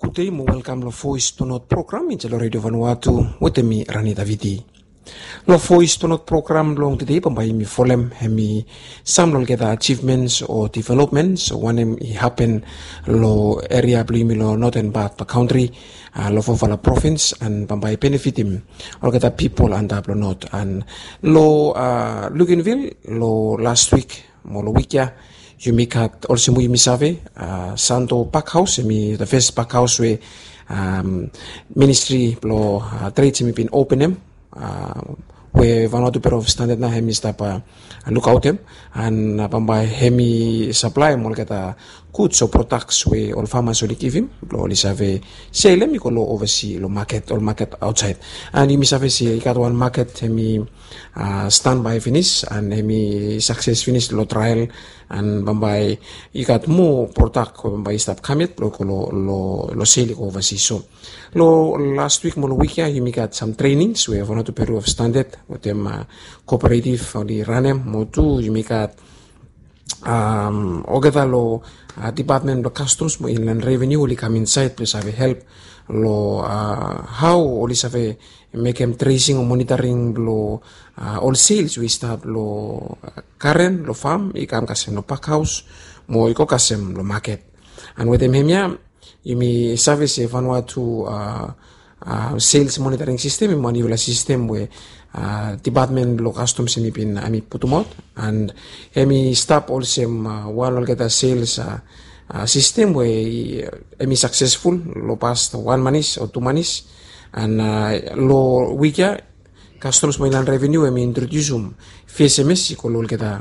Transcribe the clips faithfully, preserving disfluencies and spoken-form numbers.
Gudei mo welkam long Voice to North program insait long Radio Vanuatu wetem mi, Rani Davidi. Long Voice to North program blong tedei bambae yumi folem hemi sam long olgeta achievements o developments wanem i hapen long eria blong yumi long noten pat blong kantri, long fofala provins, and bambae i benefitim olgeta pipol antap long not. And long Luganville long last wik mo long wik ya, yumi gat olsem we yumi save, Santo Parkhaus, hemi the first parkhaus we ministri blong trade hemi bin openem, we Vanuatu Bureau of Standard nao hemi stap lukaotem. And bambae hemi saplaem olgeta guds o prodaks we ol famas oli givim blong oli save selem i go long ovasi long maket, ol maket aotsaed. And yumi save se i gat wan maket hemi stanbae finis and hemi sakses finis long trael. And bambae i gat moa prodak we bambae i stap kam yet blong i go long sel i go ovasi. So long last wik mo long wik ya yumi gat sam trenings we Vanuatu Bureau of Standard wetem kooperativ oli ranem, mo tu yumi gat olgeta long dipatmen blong Customs mo Inland Revenue oli kam insaed blong save help long hao oli save mekem tracing o monitoring blong ol sales we i stap long garen, long fam, i kam kasem long pakhaos mo i go kasem long maket. And wetem hemia yumi save se Vanuatu sales monitoring system hemi wan niufala sistem we dipatmen blong Customs hemi bin hemi putumaot. And hemi stap olsem wan olgeta sales sistem we hemi saksesful long pas wan manis o tu manis. And long wik ya Customs mo Inland Revenue hemi introdiusim V S M S i go long olgeta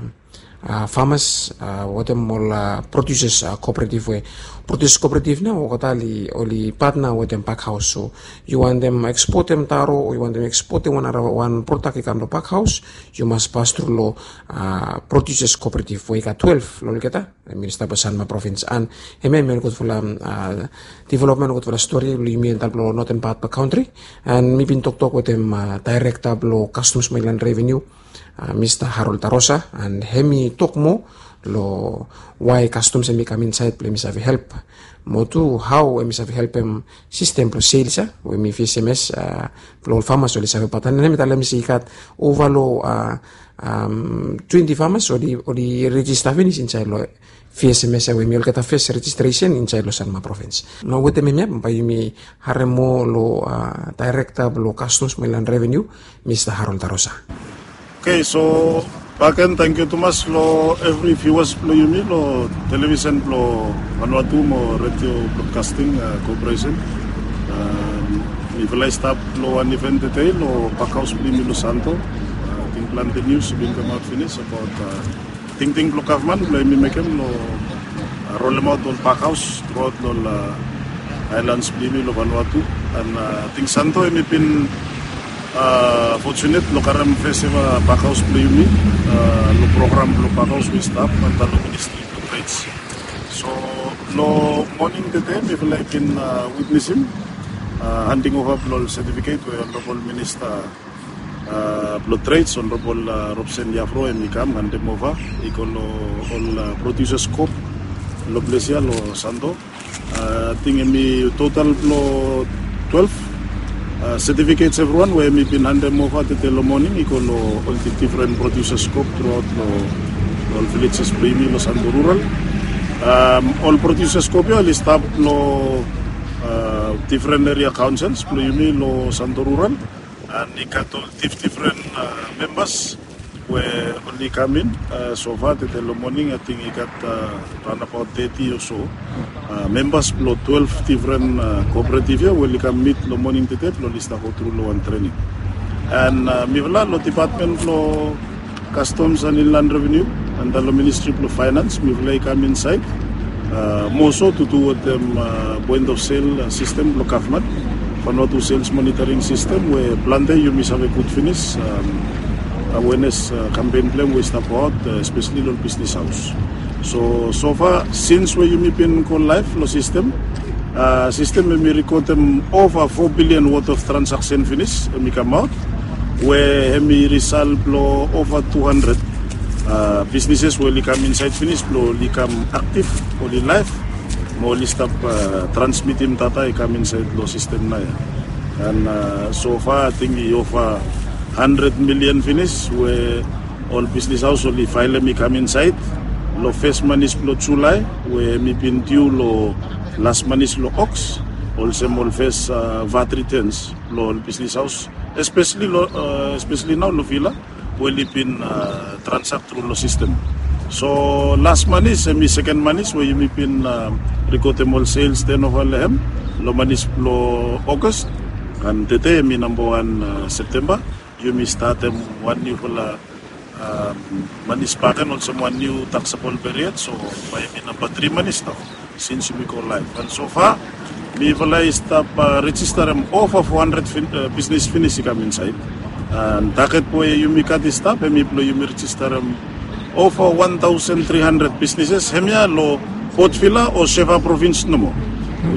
famas wetem ol produsas kooperativ we produsas kooperativ nao olgeta oli patna wetem pakhaos. So yu wantem ekspotem taro o yu wantem ekspotem wan nara wan prodak i kam long pakhaos, yu mas pas tru long produsas kooperativ we i gat twelef long olgeta. Hemi stap long Sanma provins. And hemia hemi wan gudfala developmen, gudfala stori blong yumi antap long noten pat blong kantri. And mi bin toktok wetem daerekta blong Customs mo Inland Revenue, Mista Harold Tarosa, and hemi tok moa long wae Customs hemi kam insaed blong hemi save help mo tu hao hemi save helpem sistem blong sales ya we hemi V S M S blong ol famas oli save patna. And hemi talem se i gat ova long twenti famas oli rejista finis insaed long V S M S ya we hemi olgeta fes rejistresen insaed long Sanma provins. Nao wetem hemia bambae yumi harem moa long daerekta blong Customs mo Inland Revenue, Mista Harold Tarosa. Oke, so bakegen tangkiu tumas long evri viuas blong yumi long televisen blong Vanuatu mo Radio Broadcasting Corporation. Mifala i stap long wan iven tede long pakhaos blong yumi long Santo. Ating plante nius i bin kamaot finis abaot tingting blong gavman blong yumi mekem long rolemaot ol pakhaos truaot long ol aelans blong yumi long Vanuatu. And ating Santo hemi bin fotunet long karem fes eva pakhaos blong yumi long program blong pakhaos we i stap antap long Ministri blong Trade. So long moning tede mifala i bin witnesim handing ova blong ol setifiket we Honorabol Minista blong Trade, Honorabol Robson Yafro, hemi kam handem ova i go long ol produsas koop long ples ya long Santo. Ating hemi total blong twelef setifikets evriwan we hemi bin handem ova tede long moning i go long ol difren produsas koop truaot long ol vilejes blong yumi long Santo Rural. Ol produsas koop ya oli stap long difren eria kaonsels blong yumi long Santo Rural. And i gat ol difdifren membas we oli kam in. Sofa tede long moning ating i gat raonabaot teti o so membas blong twelef difren kooperativ ya we oli kam mit long moning tede blong oli stap go tru long wan trening. And mifala long dipatmen blong Customs and Inland Revenue antap long Ministri blong Faenans mifala i kam insaed moa so tu du wetem point of sale sistem blong gavman, Vanuatu Sales Monitoring System we plante yumi save gud finis. Awenes kampen blong hem we i stap goaot espeseli long ol bisnis haos. So sofa sins we yumi bin go laef long sistem, sistem hemi rekodem ova fo bilian worth of transaksen finis hemi kamaot we hemi risal blong ova tu handred bisnises we oli kam insaed finis blong oli kam aktif, oli laef. Mo oli stap transmitim data i kam insaed long sistem nao ia. And sofa ating i ova handred milian finis we ol bisnis haos oli faelem i kam insaed long fes manis blong Julae, we hem i bin diu long las manis long Oks, olsem ol fes vat ritens blong ol bisnis haos, espeseli nao long Vila we oli bin transak tru long sistem. So las manis hem i seken manis we yumi bin rikodem ol sels tenova long hem long manis blong Ogas. And tede hem i nambawan Septemba, yumi statem wan niufala manis bakegen olsem wan niu taksabol period. So bae hem i namba tri manis nao sins yumi go laef. And sofa mifala i stap rejistarem ova fo handred bisnis finis i kam insaed. And taget we yumi gat i stap hem i blong yumi rejistarem ova wan taosen tri handred bisnises hemia long Port Vila o Seva provins nomo.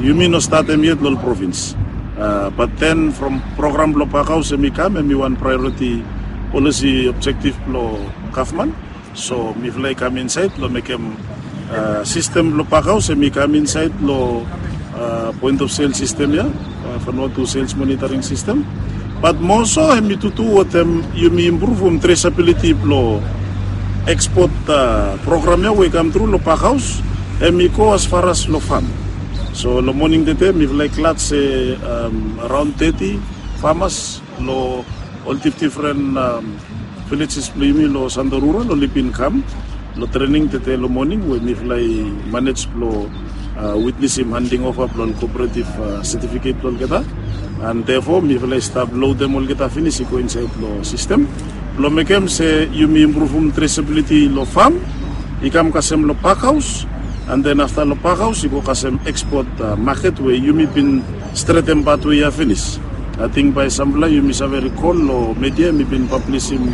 Yumi no statem yet long ol provins. Bat den from program blong pakhaos hem i kam, hem i wan praeoriti polisi objektif blong gavman. So mifala i kam insaed long mekem sistem blong pakhaos hem i kam insaed long poen of sel sistem ia, Vanuatu sels monitoring sistem. Bat moso hem i tutu wetem yumi impruvum tresabiliti blong ekspot program ia we i kam tru long pakhaos, hem i go asfaras long fam. So long moning tede mifala i glad se araon teti famas long ol difdifren vilejes blong yumi long Santo Rural oli bin kam long trening tede long moning we mifala i manej blong witnesim handing ova blong ol kooperatif setifiket blong olgeta. And therefore mifala i stap lodem olgeta finis i go insaed long sistem blong mekem se yumi impruvum tresabiliti long fam i kam kasem long pakhaos. And den afta long pakhaos i go kasem ekspot maket we yumi bin stretem patwe ia finis. Ating bae samfala yumi save rikol long media mi bin pablisim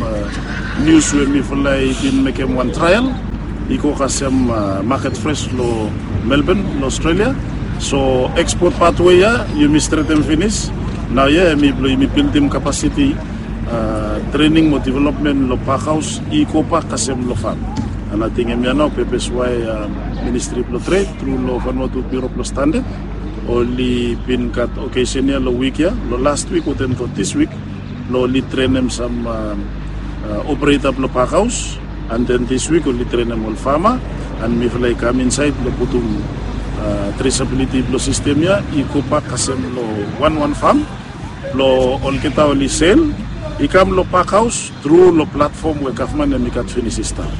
nius we mifala i bin mekem wan trael i go kasem maket fres long Melbourne long Australia. So ekspot patwe ia yumi stretem finis. Nao ia hem i blong yumi bildim kapasiti, trening mo developmen long pakhaos i gobak kasem long fam. And ating hemia nao pepes wae ministri blong tred tru long Vanuatu Bureau blong Standard oli bin gat okesen ia long wik ia, long last wik wetem tok dis wik, blong oli trenem sam opereta blong pakhaos. And den dis wik oli trenem ol fama. And mifala i kam insaed blong putum tresabiliti blong sistem ia i gobak kasem long wanwan fam blong olgeta oli sel i kam long pakhaos tru long platfom we gavman hem i gat finis i stap.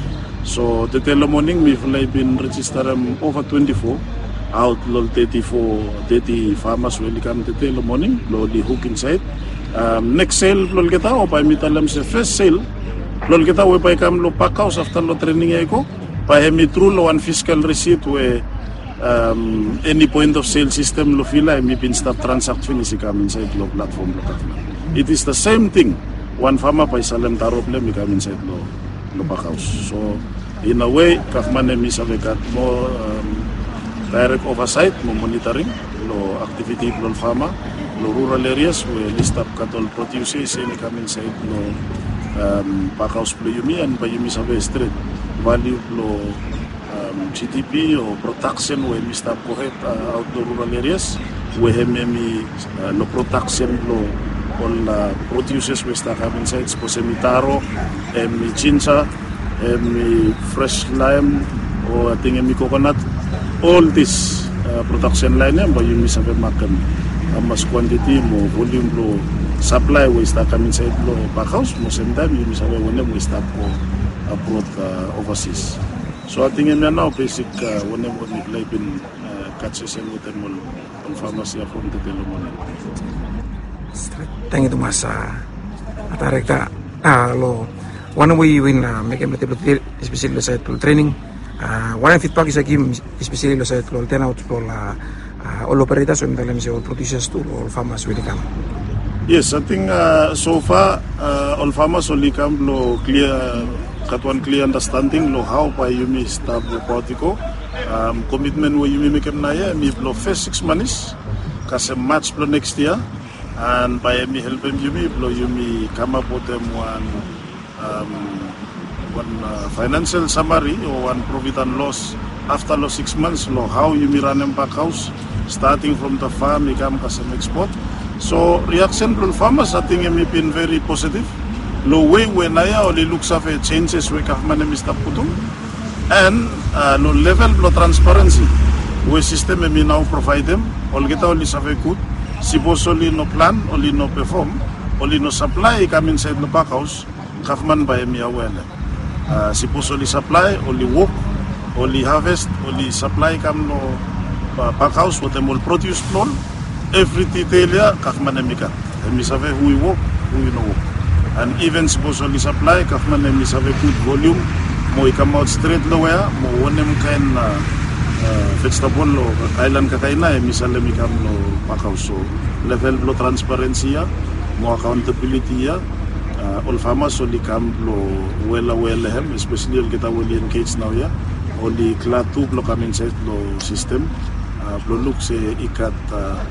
So tede long moning mifala i bin rejistarem ova twenti fo aot long teti fo, teti famas we oli kam tede long moning blong oli huk insaed. Neks sel blong olgeta o bae mi talem se fes sel blong olgeta we bae i kam long pakhaos afta long trening ia i go, bae hem i tru long wan fiskal risit we eni poen of sel sistem long Vila hem i bin stap transak finis i kam insaed long platfom blong gavman. It is the same thing. Wan fama bae i salem taro blong hem i kam insaed long pakhaos. So in a way gavman hem i save gat moa daerek ovasaet mo monitoring long aktiviti blong ol fama long rural erias we oli stap gat ol prodiusa i sel i kam insaed long pakhaos blong yumi. And bae yumi save stret valiu blong GDP o prodaksen we hem i stap gohed aot long rural erias we hem hem i long prodaksen blong ol prodiusas we i stap kam insaed, sapos hem i taro, hem i jinja, hem i fres laem, o ating hem i kokonat. Ol dis prodaksen laen ia bae yumi save makem hamas kwantiti mo volium blong saplae we i stap kam insaed long pakhaos mo semtaem yumi save wanem we i stap go abrod, ovasis. So ating hemia nao besik wanem we mifala i bin gat sesen wetem ol famas ia from tede long moning. Tangkiu tumas, daerekta. Long wanem we yu bin mekem long tede blong tede, espeseli long saed blong trening, wanem fidbak yu save givim espeseli long saed blong ol tenaot blong ol operetas we mi talem se ol prodiusas tu long ol famas we oli kam? Yes, ating sofa ol famas oli kam blong klia, gat wan klia andastanding long hao bae yumi stap wokaot i go. Komitmen we yumi mekem naoia hem i blong fes sikis manis kasem Maj blong neks yia. And bae hem i helpem yumi blong yumi kamap wetem wan wan faenansel samari o wan profit and loss Afta long six months long hao yumi ranem bakhaos, starting from the farm i kam kasem ekspot. So reaksen blong ol famas ating em i bin veri positiv long wei we naoia oli luksave senses we gavman em i stap putum. And long level blong transparensi we sistem em i nao provaedem, olgeta oli save gud. Sipos oli no plan, oli no pefom, oli no saplae i kam insaed long bakhaos, gavman bae em i awea long em. Sipos oli saplae, oli wok, oli haves, oli saplae i kam long bakhaos wetem ol prodius blong ol, evri ditel ya gavman em i gat. Em i save hu i wok, hu i no wok. And iven sipos oli saplae, gavman em i save gud volium mo i kamaot stret long wea mo wanem kaen vejetabol o aelan kakaina em i salem i kam long bakhaos. So level blong transparensi ya mo akaontabiliti ya, ol famas oli kam blong wela we long hem, espeseli olgeta we oli engej naoia, oli glad tu blong kam insaed long sistem blong luk se i gat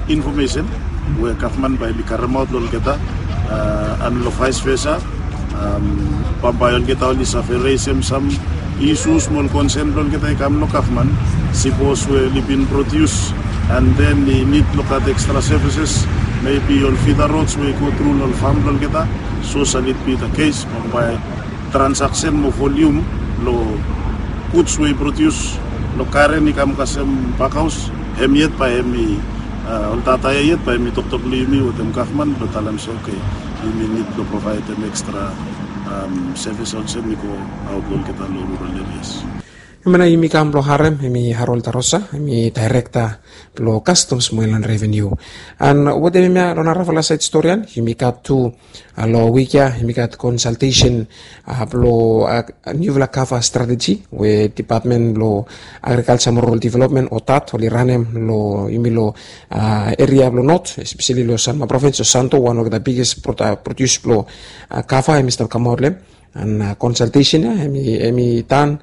infomesen we gavman bae em i karemaot long olgeta. And long vaes vesa, bambae olgeta oli save resem sam isus mo ol konsen blong olgeta i kam long gavman. Sipos we oli bin prodius and then i nid long gat ekstra sevises, mebi ol fida rods we i go tru long ol fam blong olgeta. So sal it bi the case, bambae transaksen mo volium long guds we i prodius long karen i kam kasem bakhaos, hem yet bae hem i ol data ya yet bae hem i toktok long yumi wetem gavman blong talem se oke, yumi nid blong provaedem ekstra sevis olsem i go aot long olgeta long rural erias. Hemia nao yumi kam blong harem hem i Harold Tarosa, hem i daerekta blong kastoms mo inland reveniu. And wetem hemia long narafala saed storian yumi gat tu long wik ya yumi gat konsaltesen blong niufala kava strateji we dipatmen blong agrikalja mo rural developmen o dat oli ranem long yumi long eria blong not, espeseli long Sanma provins o Santo, wan olgeta biges prodius blong kava hem i stap kamaot long hem. And konsaltesen ya hem i dan